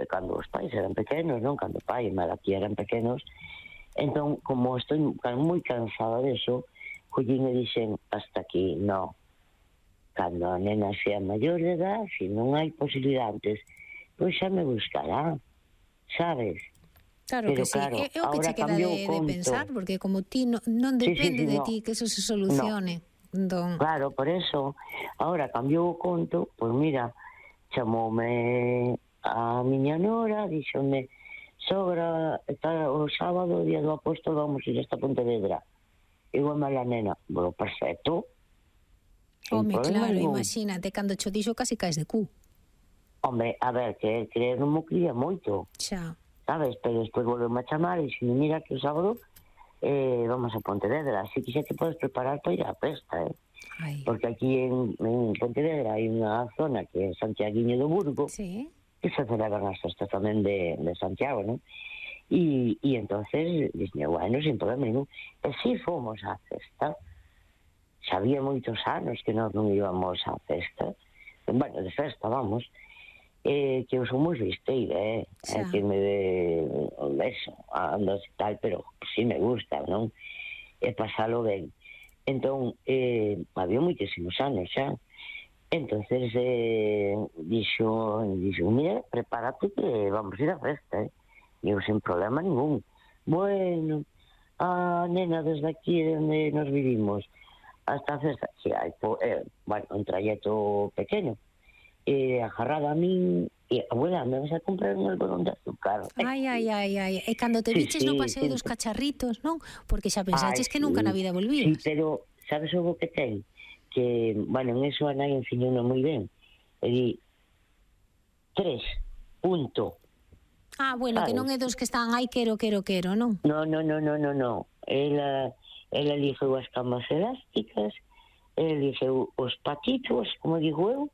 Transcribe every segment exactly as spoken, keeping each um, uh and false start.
cando os pais eran pequenos, non? Cando o pai e mala aquí eran pequenos, entón, como estou moi cansada deso, collín e dixen, hasta aquí, non. Cando a nena sea maior de edad, se non hai posibilidades, pois xa me buscará, sabes? Claro que sí, é o que che queda de pensar, porque como ti non depende de ti que eso se solucione. Claro, por eso, agora cambiou o conto, pois mira, chamoume a miña nora, díxome, sogra, está o sábado, día do apóstol, vamos ir hasta Pontevedra. Igual a nena, bueno, perfecto. Home, claro, imagínate, cando cho dixo casi caes de cu. Home, a ver, que creer non mo cría moito. Xa. Sabes, pero despois volvemos a chamar e dixen, mira que o sábado eh, vamos a Pontevedra, así que xa te podes preparar para ir á festa, eh? Ay. Porque aquí en, en Pontevedra hai unha zona que é Santiaguiño do Burgo, sí, que se celebran as festas tamén de, de Santiago, non? E, e entonces, dixen, bueno, sin problema ningún. E si fomos á festa, xa había moitos anos que nós non íbamos á festa, bueno, de festa, vamos, eh, que eu sou moi fisteira, eh, eh, que me de, eso, ando e tal, pero si me gusta, non? E pasalo ben. Entón, eh, había moitísimos anos xa. Entonces, eh, dixo, dixo, mira, prepárate que vamos ir á festa, eh? E eu sin problema ningún. Bueno, a nena, desde aquí onde nos vivimos hasta a festa, que hai, eh, bueno, un trayecto pequeno, eh, agarrada a min, e, abuela, me vas a comprar un algodón de azúcar. Ai, ai, ai, ai, e cando te viches no paseo dos cacharritos, non? Porque xa pensaches que nunca na vida volvías. Sí, pero, sabes o que ten? Que, bueno, en eso a nai enseñou moi ben. E di, tres, punto. Ah, bueno, que non é dos que están, ai, quero, quero, quero, non? No, no, no, no, no, no. Ela... Ela elixeu as camas elásticas, ela elixeu os patitos, como digo eu,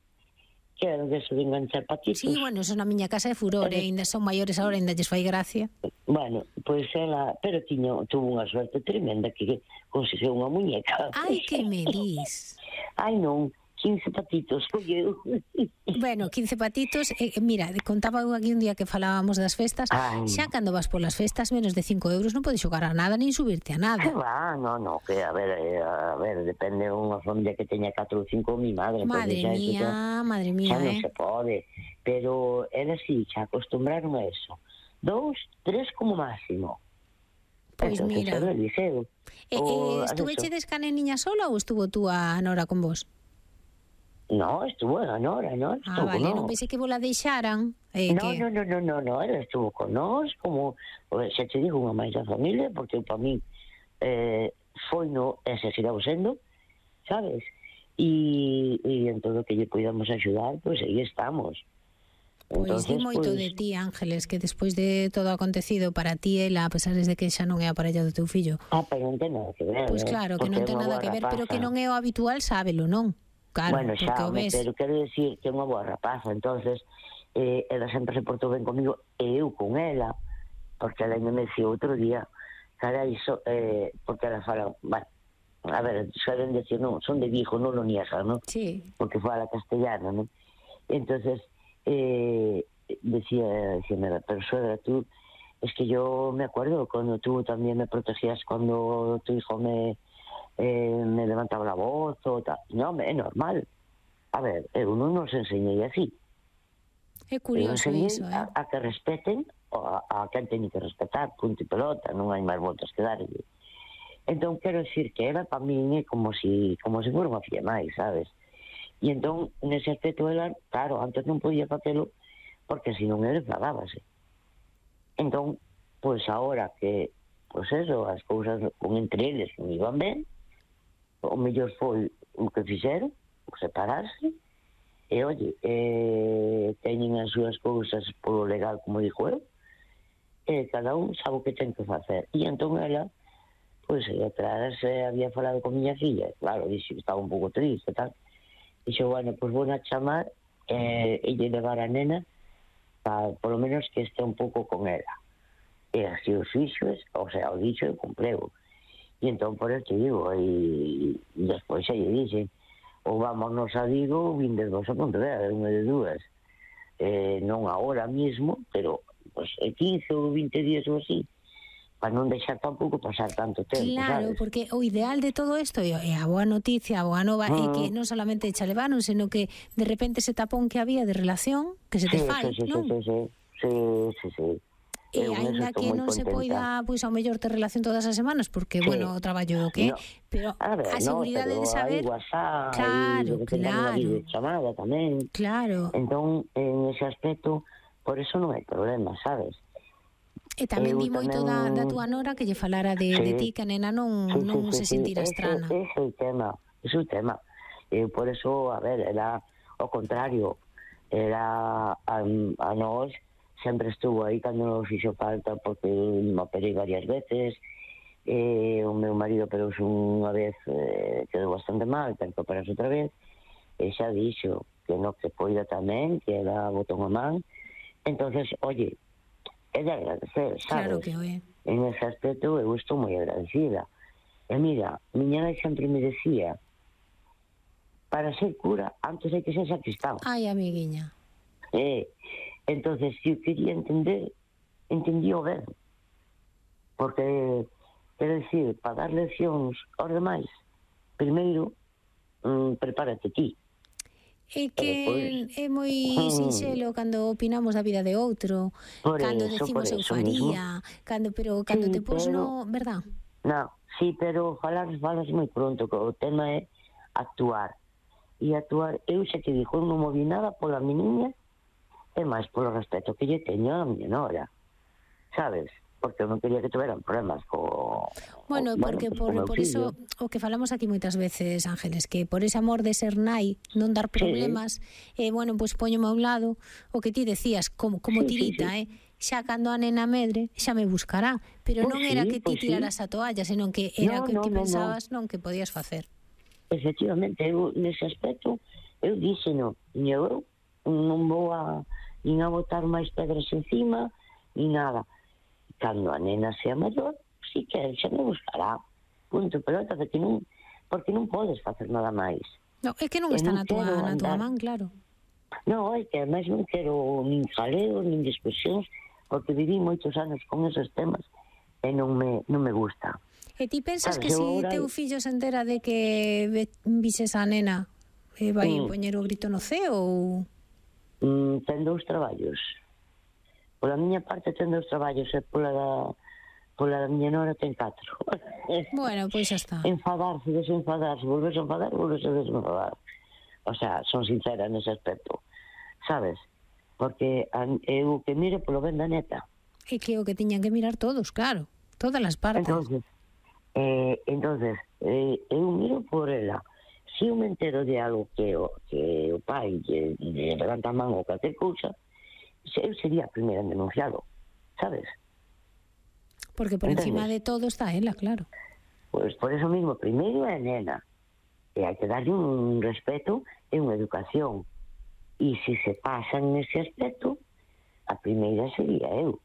que era de eso de enganchar patitos. Sí, bueno, eso na miña casa é furor, e ainda son maiores agora, ainda lles fai gracia. Bueno, pois ela, pero tiño, tuvo unha suerte tremenda que conseguiu unha muñeca. Ai, que me dis? Ai, non, quince patitos, colleu. Bueno, quince patitos, eh, mira, contaba eu aquí un día que falábamos das festas, ay, xa cando vas polas festas menos de cinco euros non podes xogar a nada, nin subirte a nada. Que va, no, no, que a ver, a ver, depende unha familia que teña catro ou cinco, mi madre. Madre mía, xa, madre mía, xa eh. non se pode, pero era así, xa acostumbraron a eso. Dous, tres como máximo. Pois pues mira. Liceo, eh, eh, estuvechedes ca neniña sola ou estuvo tú a Nora con vos? No, estuvo a Nora, non? Ah, vale, non pensei que vos la deixaran. Eh, no, que... no, no, no, no, no, ela estuvo con nós, como, xa te digo, unha máis da familia, porque para mí eh, foi no, e se sigamos sendo, sabes? E, e en todo que lle podamos axudar, pois pues, aí estamos. Pois Entonces, di moito pues... de ti, Ángeles, que despois de todo o acontecido para ti, ela, a pesar de que xa non é a parella do teu fillo. Ah, pero non ten nada que ver. Pois pues claro, que non ten nada que ver, pero que non é o habitual, sábelo, non? Claro, bueno, xa, ves... pero quero decir que é unha boa rapaza, entonces eh, ela sempre se portou ben comigo e eu con ela, porque ela me decía outro día, cara, iso, eh, porque ela fala, bueno, a ver, saben decir, non, son de Vigo, non lo niegan, non? Sí. Porque fala castellano, non? Entonces, eh, decía, decía, pero suegra, tú, es que yo me acuerdo cuando tú también me protegías cuando tu hijo me... Eh, me levantaba la voz o tal. No, é normal. A ver, eu non nos enseñei así. É curioso iso, eh? A, a que respeten a, a quen teñe que respetar, punto e pelota, non hai máis voltas que darlle. Entón, quero decir que era para min é como si, como si fora unha filla máis, sabes? E entón, nese aspecto, ela, claro, antes non podía facelo porque se non ele enfadábase. Entón, pois agora que, pois eso, as cousas con entre eles non iban ben, o mellor foi o que fixeron, separarse, e, oye, eh, teñen as súas cousas polo legal, como dixo eu, e cada un sabe o que ten que facer. E entón ela, pois, atrás eh, había falado con miña filla, claro, dixo que estaba un pouco triste e tal, dixo, bueno, pois vou a chamar eh, e lle levar a nena para, polo menos, que este un pouco con ela. E así os fixos, o sea, o dixo e cumpleu. E entón, por eso te digo, e despois xa lle dixen, ou vámonos a Vigo ou vindes vos a Pontevedra, unha de dúas, eh, non agora mismo, pero pues, quince ou vinte días ou así, para non deixar tampouco pasar tanto tempo, claro, sabes? porque o ideal de todo isto e a boa noticia, a boa nova é que non solamente xa levaron, senón que de repente ese tapón que había de relación que se te sí, fai, sí, sí, non? sí, sí, sí, sí, sí. E aínda que non se poida, pois ao mellor ter relación todas as semanas, porque, sí, bueno, o traballo é o que é, no. pero a, ver, a no, seguridade de saber... WhatsApp, claro, e claro. Unha chamada tamén. Claro. Entón, en ese aspecto, por eso non hai problema, sabes? E tamén vi moito tamén... da, da túa nora que lle falara de, sí, de ti, que a nena non, sí, non sí, se sí, sentira sí. estrana. Ese é o tema, ese é o tema. E por eso, a ver, era ao contrario, era a, a nós sempre estuvo aí cando nos fixo falta, porque me operei varias veces, eh, o meu marido operouse unha vez, eh, quedou bastante mal, ten que operarse outra vez, e xa dixo que no que poida tamén, que era botón a man. Entonces, oye, é de agradecer, sabes? Claro que é. En ese aspecto eu estou moi agradecida. E mira, miña nai sempre me decía, para ser cura, antes hai que ser sacristán. Ai, amiguiña. Eh, entonces, se eu quería entender, entendí o ben. Porque, quero dicir, para dar leccións aos demais, primeiro, mm, prepárate ti. É que después, é moi sinxelo cando opinamos da vida de outro, cando eso, decimos eu faría, cando, pero cando sí, te pos no, verdad? Non, sí, pero falar falas moi pronto, que o tema é actuar. E actuar, eu xa te dixo, non movi nada pola mi niña, e máis polo respeto que lle teño a miña nora, sabes? Porque eu non quería que tuveran problemas co... Bueno, porque bueno, pues, por, por iso o que falamos aquí moitas veces, Ángeles, que por ese amor de ser nai, non dar problemas, sí, eh, bueno, pois pues, poñome a un lado o que ti decías, como, como sí, tirita, sí, sí. eh? Xa cando a nena medre, xa me buscará, pero pues non sí, era que ti pues tiraras sí. a toalla, senón que era no, que no, ti no, pensabas no. non que podías facer. Efectivamente, eu nese aspecto, eu díxeno, eu non vou a, nin a botar máis pedras encima, nin nada. Cando a nena sea maior, si que xa me buscará, punto pelota, porque non, porque non podes facer nada máis. No, é que non está na tua, na tua man, claro. Non, é que ademais non quero nin jaleos, nin discusións, porque viví moitos anos con esos temas e non me, non me gusta. E ti pensas que se si teu fillo se entera de que vises a nena, eh, vai mm. poñer o grito no ceo ou... Mm, ten dous traballos. Pola miña parte ten dous traballos e pola da, pola da miña nora ten catro. Bueno, pois xa está. Enfadarse, desenfadarse, volverse a enfadar, volverse a desenfadar. O sea, son sincera nese aspecto, sabes? Porque eu que miro polo ben da neta. É que o que tiñan que mirar todos, claro, todas as partes. Entonces, eh, entonces eh, eu miro por ela. Se eu me entero de algo que o, que o pai lle, lle levanta a man ou calquer cousa, eu sería a primeira en denunciado, sabes? Porque por entonces, encima de todo está ela, claro. Pois pues por eso mismo, primeiro é a nena, e hai que darlle un respeto e unha educación. E se se pasan nese aspecto, a primeira sería eu.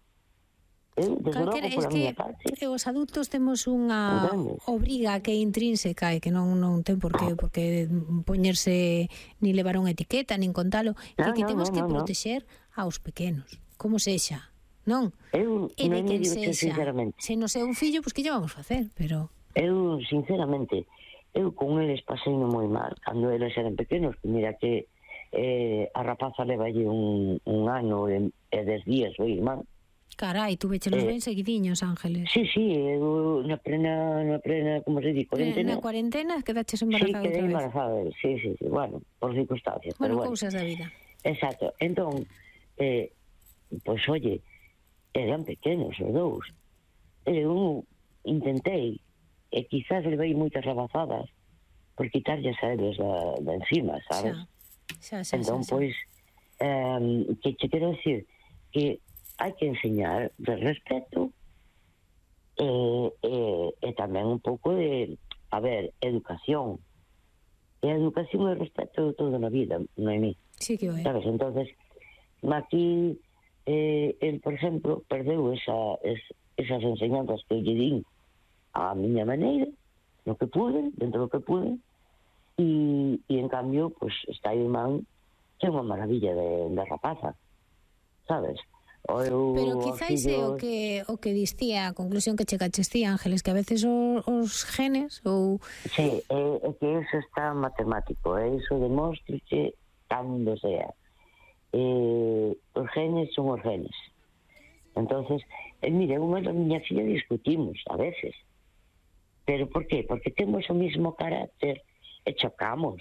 Eu, desde logo, pola miña parte... É que os adultos temos unha obriga que é intrínseca e que non, non ten por qué, por qué poñerse ni levar unha etiqueta, nin contalo, no, que, que no, temos no, que no, protexer no. aos pequenos, como sexa, non? Eu, e de quen sexa, sinceramente. Se non é un fillo, pois pues, que lle vamos facer, pero... Eu, sinceramente, eu con eles pasei moi mal, cando eles eran pequenos, que mira que eh, a rapaza levalle un, un ano e, e dez días o irmán. Carai, tú vechelos eh, ben seguidiños, Ángeles. Sí, sí, eu na plena, na plena, como se di, cuarentena. Na cuarentena quedaches embarazada sí, outra vez. Sí, embarazada, sí, sí, sí, bueno, por circunstancias. Bueno, pero cousas bueno. da vida. Exacto, entón, eh, pois, pues, oye, eran pequenos os dous. Eu intentei, e quizás levei moitas rabazadas, por quitarlles a eles da, da encima, sabes? Xa, xa, xa, entón, xa, pois, eh, que te quero decir que hai que enseñar de respeto e, e, e tamén un pouco de, a ver, educación. E a educación e o respeto todo na vida, non é mí. Sí que é. Sabes, entonces, aquí, eh, el, por exemplo, perdeu esa, es, esas enseñanzas que lle din a miña maneira, no que pude, dentro do que pude, e, e en cambio, pues, está irmán que é unha maravilla de, de rapaza, sabes? O eu, Pero quizáis é o que o que distía a conclusión que chegaches ti, Ángeles, que a veces os, os genes ou... Sí, é, é que eso está matemático, é iso demóstriche cando sea. Eh, os genes son os genes. Entonces, eh, mire, unha da miña filla discutimos a veces. Pero por qué? Porque temos o mismo carácter e chocamos.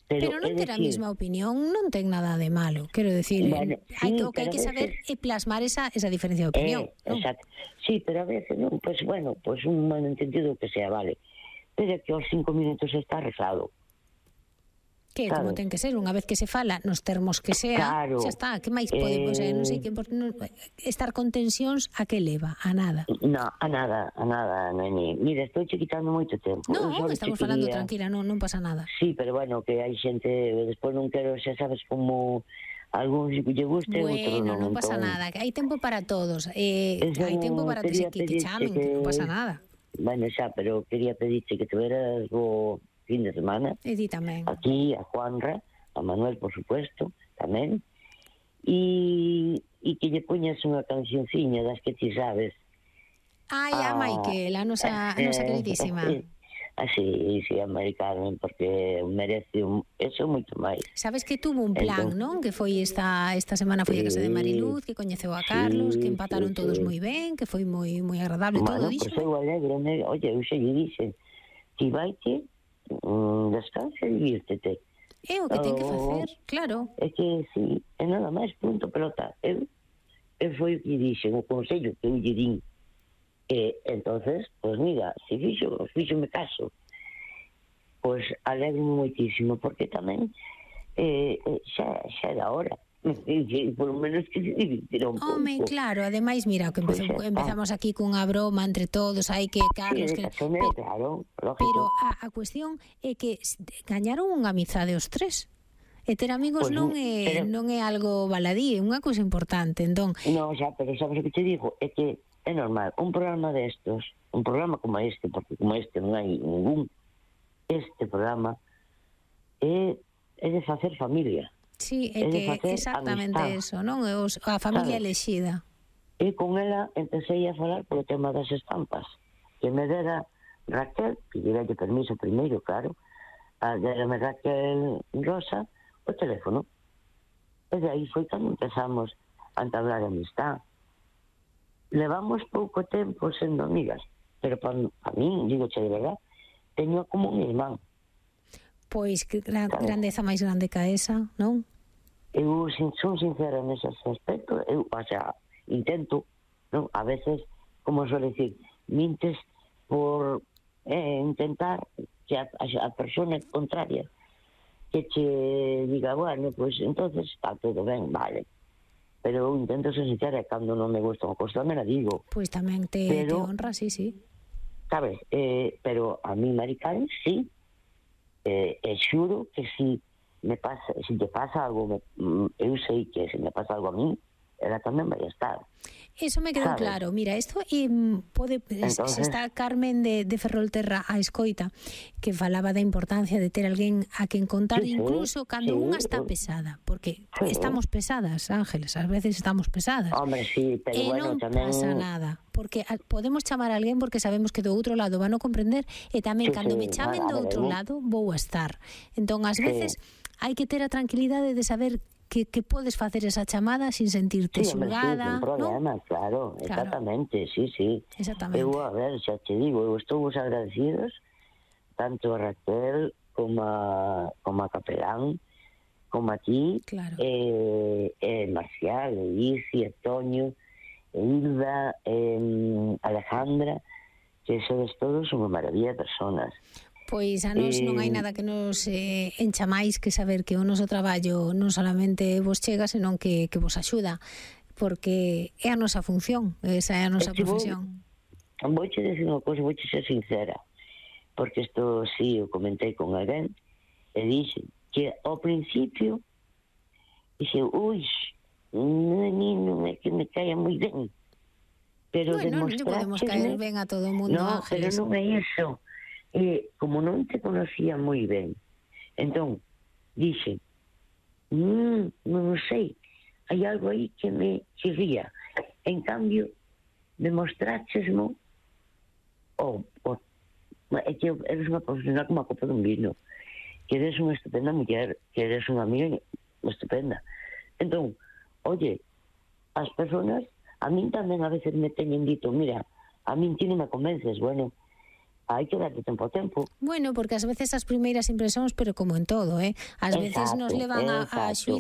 Pero, pero non ter a mesma opinión non ten nada de malo, quero decir, bueno, sí, hai que, o que hai que veces, saber é plasmar esa, esa diferencia de opinión. Eh, ¿no? Exacto. Sí, pero a veces non, pues bueno, pues un malentendido que sea, vale. Pero que aos cinco minutos está arreglado. Que como ten que ser, unha vez que se fala nos termos que sea, claro, xa está, que máis podemos, eh, non sei que por, non, estar con tensións a que leva, a nada. No, a nada, a nada, neni. Mira, estou che quitando moito tempo. No, estamos falando quería... tranquila, non, non pasa nada. Sí, pero bueno, que hai xente, despois non quero, xa sabes como algúns lle guste, bueno, outros non. non pasa entón... nada, que hai tempo para todos, eh, hai tempo para que, que, que chamen, que... que non pasa nada. Bueno, xa, pero quería pedirte que tuveras o fin de semana. E di tamén. Aquí, a Juanra, a Manuel, por supuesto, tamén. E, e que lle poñas unha cancionciña das que ti sabes. Ai, a, a Michael, a nosa, a nosa queridísima. Así, sí, a Mari Carmen, porque merece un, eso moito máis. Sabes que tuvo un plan, entón, non? Que foi esta esta semana foi sí, a casa de Mariluz, que coñeceu a Carlos, sí, que empataron sí, todos sí. moi ben, que foi moi moi agradable, bueno, todo, dixo. Bueno, pois eu alegro, oye, eu xe lle dixen, ti vai que mm, descansa e divírtete. É o que ten que facer, claro. É que, sí, é nada máis, punto, pelota. Eu, eu foi o que dixen, o consello que eu lle din. E, entonces, pues mira, se fixo, fixo me caso, pues alegro moitísimo, porque tamén eh, xa, xa era hora. Por lo menos que se divirtiera un pouco. Home, claro, ademais, mira, que empezou, pues, empezamos aquí cunha broma entre todos, hai que Carlos... Sí, que, pero, claro, lógico. Pero a, a cuestión é que gañaron unha amizade os tres. E ter amigos pues, non é pero, non é algo baladí, é unha cousa importante, entón... No, xa, pero sabes o que te digo? É que é normal, un programa destos, un programa como este, porque como este non hai ningún, este programa é, é de facer familia. Sí, é, é que exactamente amistad. Eso, non? Os, a familia elexida. E con ela empecé a falar polo tema das estampas, que me dera Raquel, que lle dalle permiso primeiro, claro, a derame Raquel Rosa o teléfono. E de aí foi cando empezamos a entablar amistad. Levamos pouco tempo sendo amigas, pero para pa mí, digo che de verdad, teño como un irmán. Pois que gran, grandeza máis grande que esa, non? Eu sin, son sincera nese aspecto, eu, o sea, intento, non? A veces, como suele decir, mintes por eh, intentar que a, a, a persona contraria que che diga, bueno, pues entonces está todo ben, vale. Pero eu intento ser sincera, cando non me gusta unha cousa, me la digo. Pois tamén te, pero, te honra, sí, sí. Sabes, eh, pero a mí, Mari Carmen, sí. Eh, eh, xuro que si me pasa, si te pasa algo, me, eu sei que se me pasa algo a mí, ela tamén vai estar. Eso me quedou claro. Mira, isto eh, pode Entonces, está Carmen de, de Ferrolterra a escoita, que falaba da importancia de ter alguén a quen contar, sí, incluso cando sí, unha está pesada, porque sí, estamos pesadas, Ángeles, ás veces estamos pesadas. Hombre, sí, pero e bueno, non tamén pasa nada, porque a, podemos chamar a alguén porque sabemos que do outro lado van a comprender, e tamén sí, cando sí, me chamen do outro lado vou a estar. Entón, ás sí. veces hai que ter a tranquilidade de saber que, que podes facer esa chamada sin sentirte sí, xulgada, sí, problema, ¿no? claro, exactamente, claro. sí, sí. Exactamente. Eu, a ver, xa te digo, eu estou vos agradecidos tanto a Raquel como a, como a Capelán, como a ti, claro. eh, eh, Marcial, Isi, Toño, Hilda, eh, Alejandra, que sodes todos unha maravilla de personas. Pois a nos eh, non hai nada que nos eh, encha máis que saber que o noso traballo non solamente vos chega, senón que, que vos axuda, porque é a nosa función, esa é a nosa que profesión. Vou, vou che decir unha cosa, vou che ser sincera, porque isto sí, eu comentei con alguén, e dixe que ao principio dixe, ui, non, non é que me caia moi ben, pero bueno, non podemos caer ben a todo o mundo, no, Ángeles. Pero non é iso. E como non te conocía moi ben, entón, dixe, mm, non sei, hai algo aí que me chirría. En cambio, demostrachesmo o, o, é que eres unha profesional como a copa dun vino, que eres unha estupenda muller, que eres unha amiga estupenda. Entón, oye, as personas a min tamén a veces me teñen dito, mira, a min ti non me convences, bueno, hai que darte tempo a tempo. Bueno, porque ás veces as primeiras impresións, pero como en todo, eh? Ás veces nos levan a, a xuizo